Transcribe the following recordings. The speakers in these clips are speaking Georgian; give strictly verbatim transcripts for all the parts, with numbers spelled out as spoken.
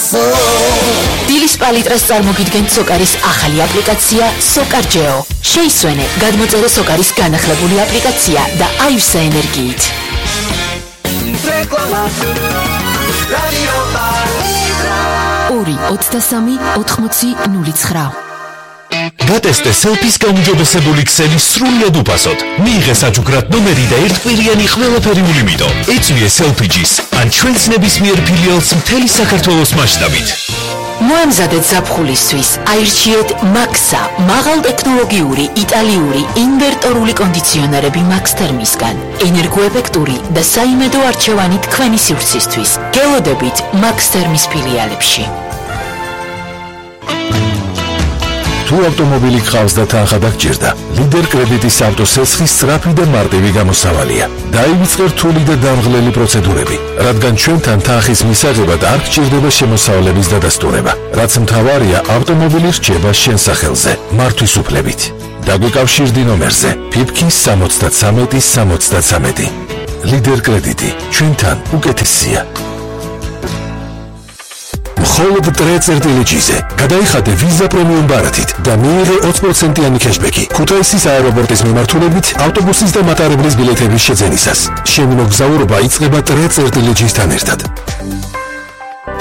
დილის პალიტრას წარმოგიდგენთ სოკარის ახალი აპლიკაცია სოკარჯეო. შეისვენე, გადმოწერე სოკარის განახლებული აპლიკაცია და აივსე ენერგიით. ორი ოცდასამი ოთხმოცი ნული ცხრა. გატესტე სელფის გაუმჯობესებული ქსელი სრულიად უფასოდ. მიიღე საჩუქრად ნომერი და ერთკვირიანი ყველაფერი ულიმიტო. ეწვიე სელფიჯის ან ჩვენს ნებისმიერ ფილიალს მთელი საქართველოს მასშტაბით. მოემზადეთ ზაფხულისთვის, აირჩიეთ მაქსა, მაღალტექნოლოგიური იტალიური ინვერტორული კონდიციონერები Max Thermisგან. ენერგოეფექტური და საიმედო არჩევანი თქვენი სივრცისთვის. გელოდებით Max Thermis ფილიალებში. თუ ავტომობილი გყავს და თანხა დაგჭირდა, ლიდერ კრედიტის ავტოსესხის სწრაფი და მარტივი გამოსავალია. დაივიწყე რთული და დამღლელი პროცედურები, რადგან ჩვენთან თანხის მისაღებად არ გჭირდება შემოსავლების დადასტურება. რაც მთავარია, ავტომობილი რჩება შენ სახელზე, მართვის უფლებით. დაგვიკავშირდი ნომერზე ფიფკი სამოცდათრამეტი სამოცდათრამეტი. ლიდერ კრედიტი, ჩვენთან უკეთესია. მხოლოდ ტრეწერტილეჯიზე გადაიხადე ვიზა პრემიუმ ბარათით და მიიღე ოცი პროცენტიანი კეშბექი ქუთაისის აეროპორტის მიმართულებით ავტობუსის და მატარებლის ბილეთების შეძენისას. შენი მოგზაურობა იწყება ტრეწერტილეჯისთან ერთად.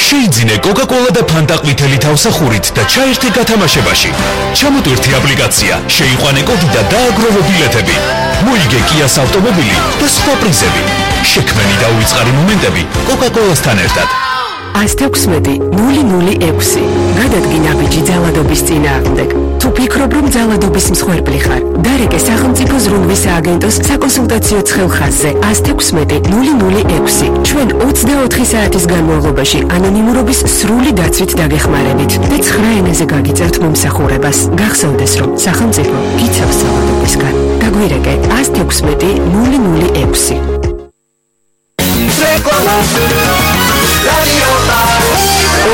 შეიძინე კოკა-კოლა და ფანტა ყვითელი თავსახურით და ჩაერთე გათამაშებაში. ჩამოტვირთი აპლიკაცია, შეიყვანე კოდი და დააგროვე ბილეთები. მოიგე კიას ავტომობილი და სხვა პრიზები. შექმენი და უიწყარი მომენტები კოკა-კოლასთან ერთად. ას თექვსმეტი ნული ნული ექვსი. გადადგინ აბიჯი ძალადობის წინააღმდეგ. თუ ფიქრობ, რომ ძალადობის მსხვერპლი ხარ, დარეკე სახელმწიფო ზრუნვის სააგენტოს საკონსულტაციო ცხელხაზზე ას თექვსმეტი ნული ნული ექვსი. ჩვენ ოცდაოთხი საათის განმავლობაში ანონიმურობის სრული დაცვით დაგეხმარებით და ცხრა ენაზე გაგიწევთ მომსახურებას. გახსოვდეს, რომ სახელმწიფო გიცავს ძალადობისგან. დაგვირეკე ას თექვსმეტი ნული ნული ექვსი.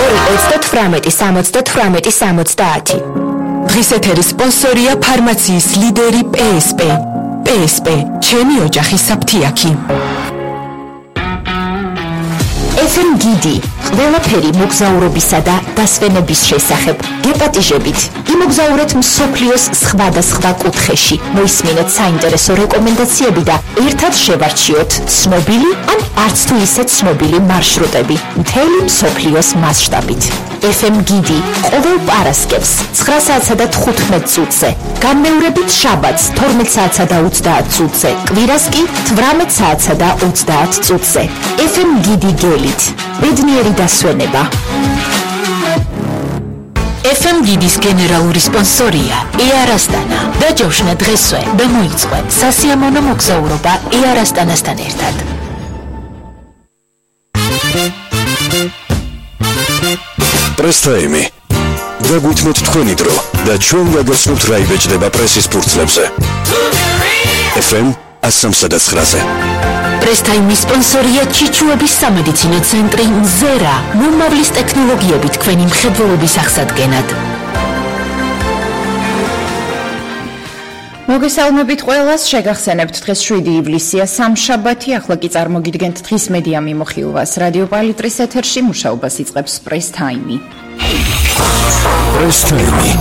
ორი ოცდათვრამეტი სამოცდათვრამეტი სამოცდაათი. დღის ეთერის სპონსორია ფარმაციის ლიდერი პე ეს პე. პე ეს პე, ჩემი ოჯახის საფთიაქი. ეფ ემ გიდი, ყველაფერი მოგზაურობისა და დასვენების შესახებ. გეპატიჟებით, იმოგზაურეთ მსოფლიოს სხვადასხვა კუთხეში. მოისმინეთ საინტერესო რეკომენდაციები და ერთად შევარჩიოთ ცნობილი ან არც თუ ისე ცნობილი მარშრუტები მთელი მსოფლიოს მასშტაბით. ეფ ემ გიდი ყოველ პარასკევს ცხრა საათსა და თხუთმეტ წუთზე, განმეორებით შაბათს თორმეტ საათსა და ოცდაათ წუთზე, კვირას კი თვრამეტ საათსა და ოცდაათ წუთზე. ეფ ემ გიდი გელით, ბედნიერი დასვენება. ეფ ემ გიდის გენერალური სპონსორია Air Astana. დაჯავშნა დღესვე და მოიწყო სასიამოვნო მოგზაურობა Air Astana-სთან ერთად. პრესტაიმი. დაგვითმოთ თქვენი დრო და ჩვენ გაგაცნობთ რა იბეჭდება პრესის ფურცლებზე. ეფ ემ ათს ცხრაზე. პრესტაიმის სპონსორია ჩიჩუების სამედიცინო ცენტრი მზერა, მომავლის ტექნოლოგიები თქვენი მხედველობის აღსადგენად. მოგესალმებით ყველას, შეგახსენებთ დღეს შვიდი ივლისია, სამშაბათი, ახლა კი წარმოგიდგენთ დღის მედია მიმოხილვას. რადიო პალიტრის ეთერში მუშაობას იწყებს პრესტაიმი. პრესტაიმი.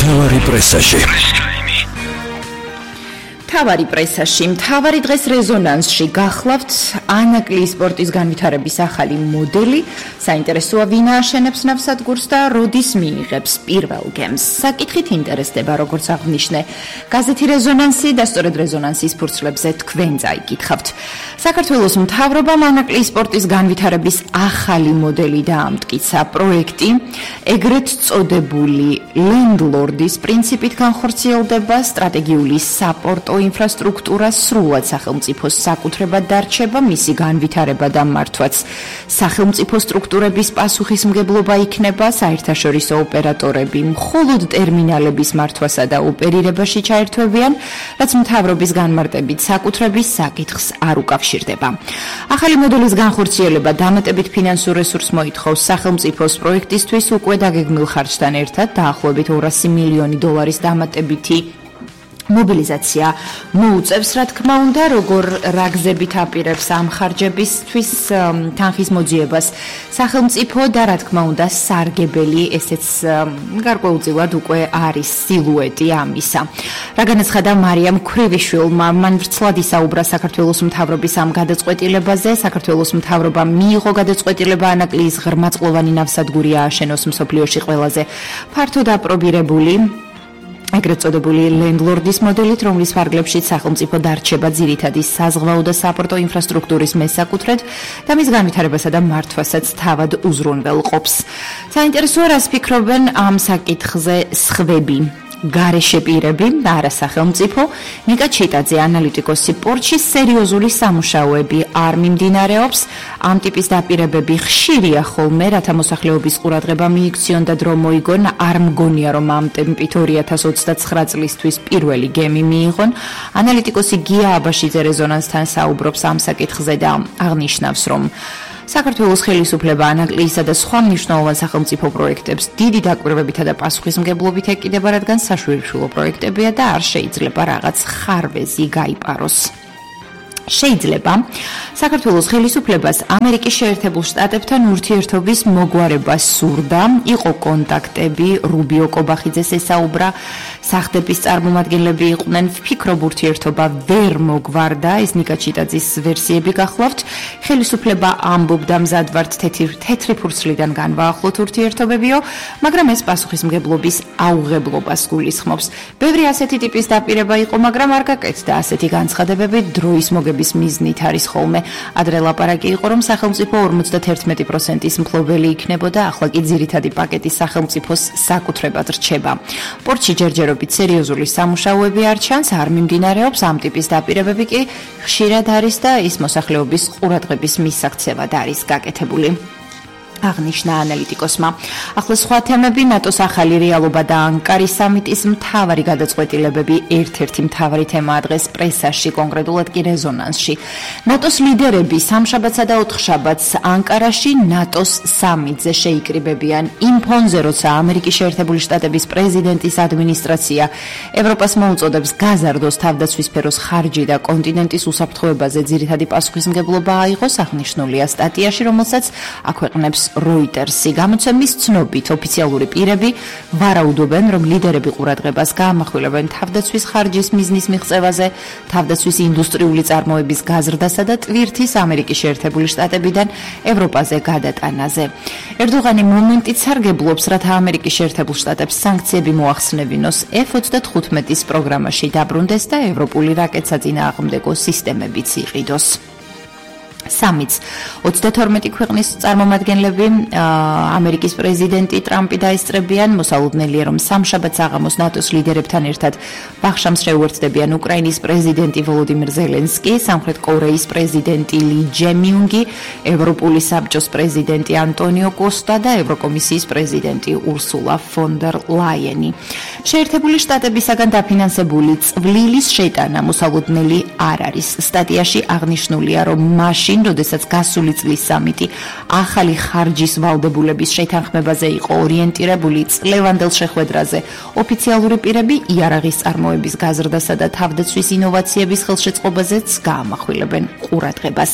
თავარი პრესაში. მთავარი პრესაში, მთავარი დღეს რეზონანსში გახლავთ ანაკლიის სპორტის განვითარების ახალი მოდელი, საინტერესოა ვინ ააშენებს ნავსადგურს და როდის მიიღებს პირველ გემს. საკითხით ინტერესდება, როგორც აღნიშნე, გაზეთი რეზონანსი და სწორედ რეზონანსის ფურცლებზე თქვენ წაიკითხავთ. საქართველოს მთავრობამ ანაკლიის სპორტის განვითარების ახალი მოდელი დაამტკიცა. პროექტი ეგრეთ წოდებული ლენდლორდის პრინციპით განხორციელდება, სტრატეგიული საპორტო ინფრასტრუქტურა სრულად სახელმწიფოს საკუთრებად დარჩება, მისი განვითარება და მართვაც სახელმწიფო სტრუქტურების პასუხისმგებლობა იქნება, საერთაშორისო ოპერატორები მხოლოდ ტერმინალების მართვასა და ოპერირებაში ჩაერთვებიან, რაც მთავრობის განმარტებით საკუთრების საკითხს არ უკავშირდება. ახალი მოდელის განხორციელება დამატებით ფინანსურ რესურსს მოითხოვს სახელმწიფოს პროექტისთვის უკვე დაგეგმილ ხარჯთან ერთად, დაახლოებით ორასი მილიონი დოლარის დამატებითი მობილიზაცია მოუწევს, რა თქმა უნდა, როგორ რა გზებით აპირებს ამ ხარჯებისთვის თანხის მოძიებას სახელმწიფო და რა თქმა უნდა სარგებელი ესეც გარკვეულწილად უკვე არის სილუეტი ამისა. რა განაცხადა მარიამ ქვრივიშვილმა, მან ვრცლად ისაუბრა საქართველოს მთავრობის ამ გადაწყვეტილებაზე. საქართველოს მთავრობამ მიიღო გადაწყვეტილება ანაკლიის ღრმაწყლოვანი ნავსადგური ააშენოს მსოფლიოში ყველაზე ფართოდ აპრობირებული ეგრეთ წოდებული ლენდლორდის მოდელით, რომლის ფარგლებშიც სახელმწიფო დარჩება ძირითადი საზღვაო და საპორტო ინფრასტრუქტურის მესაკუთრედ და მის განვითარებასა და მართვასაც თავად უზრუნველყოფს. საინტერესოა, რას ფიქრობენ ამ საკითხზე სხვები. გარეშე პირები და არა სახელმწიფო. ნიკა ჩიტაძე, ანალიტიკოსი, პორტში სერიოზული სამუშაოები არ მიმდინარეობს. ამ ტიპის დაპირებები ხშირია ხოლმე, რათა მოსახლეობის ყურადღება მიიქციონ და დრო მოიგონ. არ მგონია, რომ ამ ტემპით ორი ათას ოცდაცხრა წლისთვის პირველი გემი მიიღონ. ანალიტიკოსი გია აბაშიძე რეზონანსთან საუბრობს ამ საკითხზე და აღნიშნავს, რომ საქართველოს ხელისუფლება ანაკლიისა და სხვა მნიშვნელოვან სახელმწიფო პროექტებს დიდი დაკვირვებითა და პასუხისმგებლობით ეკიდება, რადგან საშვილიშვილო პროექტებია და არ შეიძლება რაღაც ხარვეზი გაიპაროს. შეიძლება საქართველოს ხელისუფლებას ამერიკის შეერთებულ შტატებთან ურთიერთობის მოგვარება სურდა, იყო კონტაქტები, რუბიო კობახიძეს ესაუბრა, სახლების წარმომადგენლები იყვნენ, ვფიქრობ ურთიერთობა ვერ მოგვარდა, ეს ნიკა ჩიტაძის ვერსიები გახლავთ. ხელისუფლება ამბობდა მზად ვართ თეთრი ფურცლიდან განვაახლოთ ურთიერთობებიო, მაგრამ ეს პასუხისმგებლობის აუღებლობას გულისხმობს. ბევრი ასეთი ტიპის დაპირება იყო, მაგრამ არ გაკეთდა ასეთი განცხადებები დროის მოგების მიზნით არის ხოლმე. ადრე ლაპარაკი იყო, რომ სახელმწიფო ორმოცდაერთი პროცენტის მფლობელი იქნებოდა, ახლა კი ძირითადი პაკეტი სახელმწიფოს საკუთრებად რჩება. პორტში ჯერჯერობით სერიოზული სამუშაოები არ ჩანს, არ მიმდინარეობს, ამ ტიპის დაპირებები კი ხშირად არის და ის მოსახლეობის ყურადღების მისაქცევად არის გაკეთებული. აღნიშნა ანალიტიკოსმა. ახლა სხვა თემები, ნატოს ახალი რეალობა და ანკარის სამიტის მთავარი გადაწყვეტილებები ერთ-ერთი მთავარი თემაა დღეს პრესაში, კონკრეტულად კი რეზონანსში. ნატოს ლიდერები სამშაბათსა და ოთხშაბათს ანკარაში ნატოს სამიტზე შეიკრიბებიან. იმ ფონზე, როცა ამერიკის შეერთებული შტატების პრეზიდენტის ადმინისტრაცია ევროპას მოუწოდებს გაზარდოს თავდაცვის სფეროს ხარჯი და კონტინენტის უსაფრთხოებაზე ძირითადი პასუხისმგებლობა აიღოს, აღნიშნულია სტატიაში, რომელსაც აქვეყნებს Reutersი. გამოცემის ცნობით ოფიციალური პირები ვარაუდობენ, რომ ლიდერები ყურადღებას გაამახვილებენ თავდაცვის ხარჯის მიზნის მიღწევაზე, თავდაცვის ინდუსტრიული წარმოების გაზრდასა და ტვირთის ამერიკის შეერთებული შტატებიდან ევროპაზე გადატანაზე. ერდოღანი მომენტით სარგებლობს, რათა ამერიკის შეერთებულ შტატებს სანქციები მოახსნევინოს ეფ ოცდათხუთმეტის პროგრამაში დაბრუნდეს და ევროპული რაკეტსაწინააღმდეგო სისტემებიც იყიდოს. სამიტს ოცდათორმეტი ქვეყნის წარმომადგენლები ამერიკის პრეზიდენტი ტრამპი დაესწრებიან. მოსალოდნელია, რომ სამშაბათს აღამოს ნატოს ლიდერებთან ერთად ბახშამს შეუერთდებიან უკრაინის პრეზიდენტი ვოლოდიმირ ზელენსკი, სამხრეთ კორეის პრეზიდენტი ალი ჯემიუნგი, ევროპული საბჭოს პრეზიდენტი ანტონიო კოსტა და ევროკომისიის პრეზიდენტი ურსულა ფონ დერ ლაიენი. შეერთებული შტატებისაგან დაფინანსებული წვლილის შეტანა მოსალოდნელი არ არის. სტატიაში აღნიშნულია, რომ მაშინ როდესაც გასული წლის სამიტი ახალი ხარჯის ვალდებულების შეთანხმებაზე იყო ორიენტირებული წლევანდელ შეხვედრაზე, ოფიციალური პირები იარაღის წარმოების გაზრდასა და თავდაცვის ინოვაციების ხელშეწყობაზეც გაამახვილებენ ყურადღებას.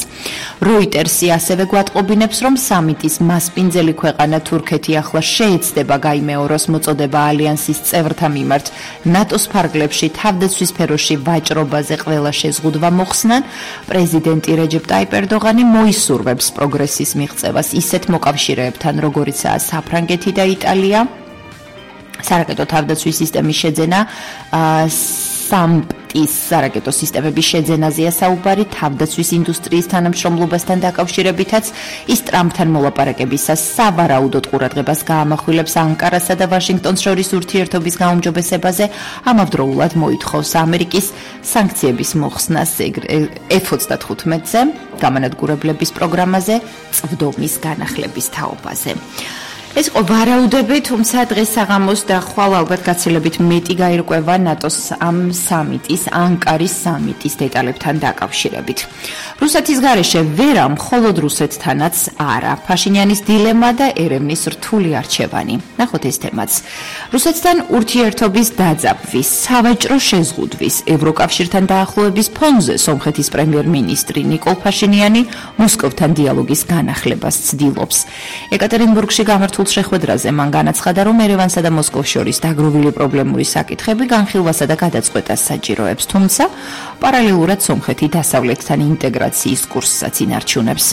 Reutersი ასევე გვატყობინებს, რომ სამიტის მასპინძელი ქვეყანა თურქეთი ახლა შეეცდება გაიმეოროს მოწოდება ალიანსის წევრთა მიმართ ნატოს ფარგლებში თავდაცვის სფეროში ვაჭრობაზე ყველა შეზღუდვა მოხსნან. პრეზიდენტი რეჯეპ ტაიპ ერდოღანი მოისურვებს პროგრესის მიღწევას ისეთ მოკავშირეებთან, როგორიცაა საფრანგეთი და იტალია. სარაკეტო თავდაცვის სისტემის შეძენა, სამპტის სარაკეტო სისტემების შეძენაზეა საუბარი, თავდაცვის ინდუსტრიის თანამშრომლობასთან დაკავშირებითაც ის ტრამპთან მოლაპარაკებისას სავარაუდოდ ყურადღებას გაამახვილებს ანკარასა და ვაშინგტონს შორის ურთიერთობის გაუმჯობესებაზე, ამავდროულად მოითხოვს ამერიკის სანქციების მოხსნას ეფ ოცდათხუთმეტზე, გამანადგურებლების პროგრამაზე, წვდომის განახლების თაობაზე. ეს იყო ვარაუდები, თუმცა დღეს საღამოს და ხვალ ალბათ გაცილებით მეტი გაირკვევა ნატოს ამ სამიტის, ანკარის სამიტის დეტალებთან დაკავშირებით. რუსეთის გარეშე ვერა მხოლოდ რუსეთთანაც არა. ფაშინიანის დილემა და ერევნის რთული არჩევანი. ნახოთ ეს თემაც. რუსეთთან ურთიერთობის დაძაბვის, სავაჭრო შეზღუდვის, ევროკავშირთან დაახლოების ფონზე სომხეთის პრემიერ-მინისტრი ნიკოლ ფაშინიანი მოსკოვთან დიალოგის განახლებას ცდილობს. ეკატერინბურგში გამართულ შეხვედრაზე მან განაცხადა, რომ ერევანსა და მოსკოვს შორის დაგროვილი პრობლემური საკითხები განხილვასა და გადაწყვეტას საჭიროებს, თუმცა პარალელურად სომხეთი დასავლეთთან ინტეგრაციის კურსსაც ინარჩუნებს.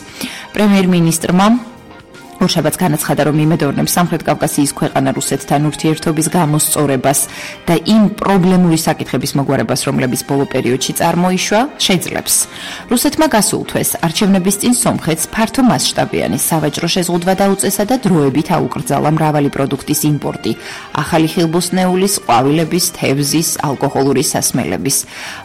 პრემიერ-მინისტრმა ორშაბათს განაცხადა, რომ იმედოვნებს სამხრეთ კავკასიის ქვეყანა რუსეთთან ურთიერთობის გამოსწორებას და იმ პრობლემური საკითხების მოგვარებას, რომლებიც ბოლო პერიოდში წარმოიშვა, შეძლებს. რუსეთმა გასულ თვეს არჩევნების წინ სომხეთს ფართო მასშტაბიანი სავაჭრო შეზღუდვა დაუწესა და დროებით აუკრძალა მრავალი პროდუქტის იმპორტი, ახალი ხილბოსნეულის, ყვავილების, თევზის, ალკოჰოლური სასმელების.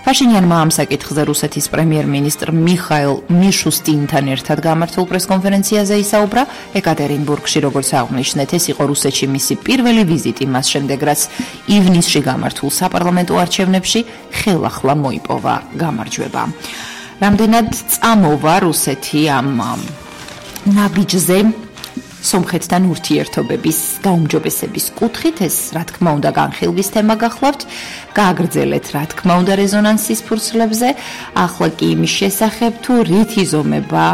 ფაშინიანმა ამ საკითხზე რუსეთის პრემიერ-მინისტრ მიხაილ მიშუსტინთან ერთად გამართულ პრესკონფერენციაზე ისაუბრა. ეკატერინბურგში, როგორც აღნიშნეთ, ეს იყო რუსეთში მისი პირველი ვიზიტი მას შემდეგ, რაც ივნისში გამართულ საპარლამენტო არჩევნებში ხელახლა მოიპოვა გამარჯვება. რამდენად წამოვა რუსეთი ამ ნაბიჯზე სომხეთთან ურთიერთობების გაუმჯობესების კუთხით, ეს რა თქმა უნდა განხილვის თემა გახლავთ, გააგრძელეთ რა თქმა უნდა რეზონანსის ფურცლებზე, ახლა კი იმის შესახებ თუ რით იზომება